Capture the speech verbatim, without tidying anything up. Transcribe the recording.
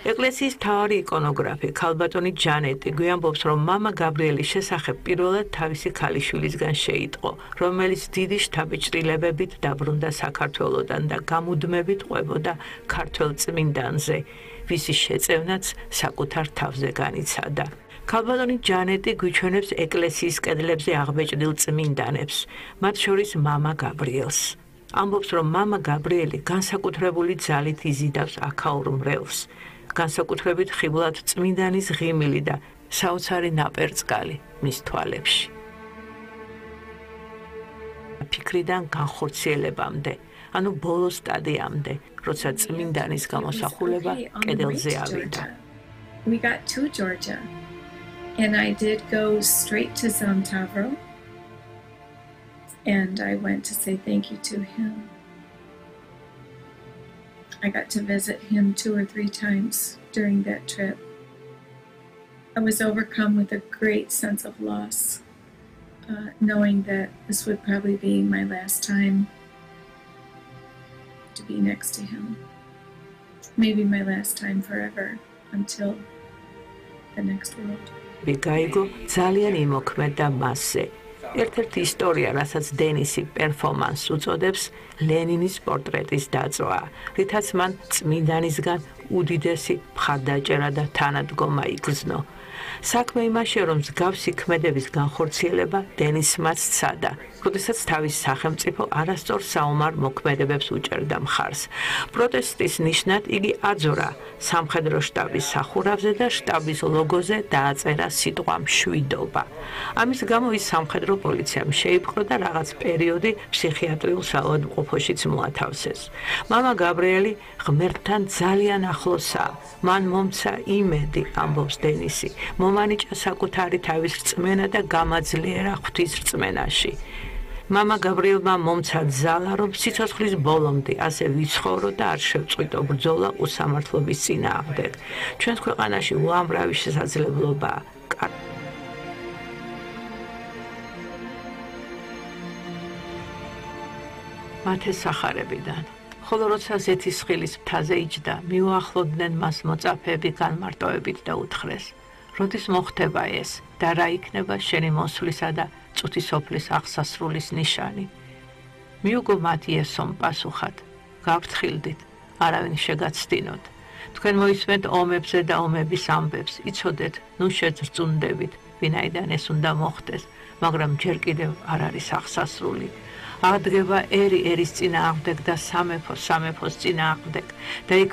ეკლესიის მთავარი იკონოგრაფი ქალბატონი ჯანეტი გვიამბობს, რომ მამა გაბრიელის შესახებ პირველად თავისი ქალიშვილისგან შეიტყო, რომელიც დიდი შთაბეჭდილებებით დაბრუნდა საქართველოდან და გამუდმებით ყვებოდა ქართველ წმინდანზე, ვისი შეწევნაც საკუთარ თავზე განიცადა. ქალბატონი ჯანეტი გვიჩვენებს ეკლესიის კედლებზე აღბეჭდილ წმინდანებს, მათ შორის მამა გაბრიელს. ამბობს, რომ მამა გაბრიელი განსაკუთრებული ძალით იზიდავს აქაურ მრევლს. განსაკუთრებით ხიბლად წმინდანის ღიმილი და საოცარი ნაპერწკალი მის თვალებში. ფიქრიდან განხორციელებამდე, ანუ ბოლო სტადიამდე, როცა წმინდანის გამოსახულება კედელზე ავიდა. We got to Georgia and I did go straight to Zamtavro and I went to say thank you to him. I got to visit him two or three times during that trip. I was overcome with a great sense of loss, uh, knowing that this would probably be my last time to be next to him. Maybe my last time forever until the next world. Bigaigo ძალიან იმოქმედა მასზე. ერთ-ერთი ისტორია, რასაც დენისი პერფორმანსს უწოდებს, ლენინის პორტრეტის დაწვა, რითაც მან წმინდანისგან უდიდესი მხარდაჭერა და თანადგომა იგრძნო. საქმე იმაშია, რომ მსგავსი ქმედების განხორციელება დენისმაც სცადა, როდესაც თავის სახელმწიფო არასწორ საომარ მოქმედებებს უჭერდა მხარს. პროტესტის ნიშნად იგი აძურა სამხედრო შტაბის სახურავზე და შტაბის ლოგოზე დააწერა სიტყვა მშვიდობა. ამის გამო ის სამხედრო პოლიციამ შეიპყრო და რაღაც პერიოდი ფსიქიატრიულ საავადმყოფოშიც მოათავსეს. მამა გაბრიელი ღმერთთან ძალიან ახლოსაა. მან მომცა იმედი, ამბობს დენისი. მომანიჭა საკუთარი თავის რწმენა და გამაძლიერა ღვთის რწმენაში. მამა გაბრიელმა მომცა ძალა, რომ სიცოცხლის ბოლომდე ასე ვიცხოვრო და არ შევწყვიტო ბრძოლა უსამართლობის წინააღმდეგ. ჩვენს ქვეყანაში უამრავი შესაძლებლობაა. მათეს სახარებიდან. ხოლო როცა ზეთისხილის მთაზე იჯდა, მიუახლოვდნენ მას მოწაფეები განმარტოებით და უთხრეს: როდის მოხდება ეს და რა იქნება შენი მოსვლისა და წუთისოფლის აღსასრულის ნიშანი? მიუგო მათ იესომ პასუხად: გავფრთხილდით, არავინ შეგაცდინოთ. თქვენ მოისმენთ ომებზე და ომების ამბებს, იცოდეთ, ნუ შეძრწუნდებით, ვინაიდან ეს უნდა მოხდეს, მაგრამ ჯერ კიდევ არ არის აღსასრული. აღდგება ერი ერის წინააღმდეგ და სამეფო სამეფოს წინააღმდეგ და იქ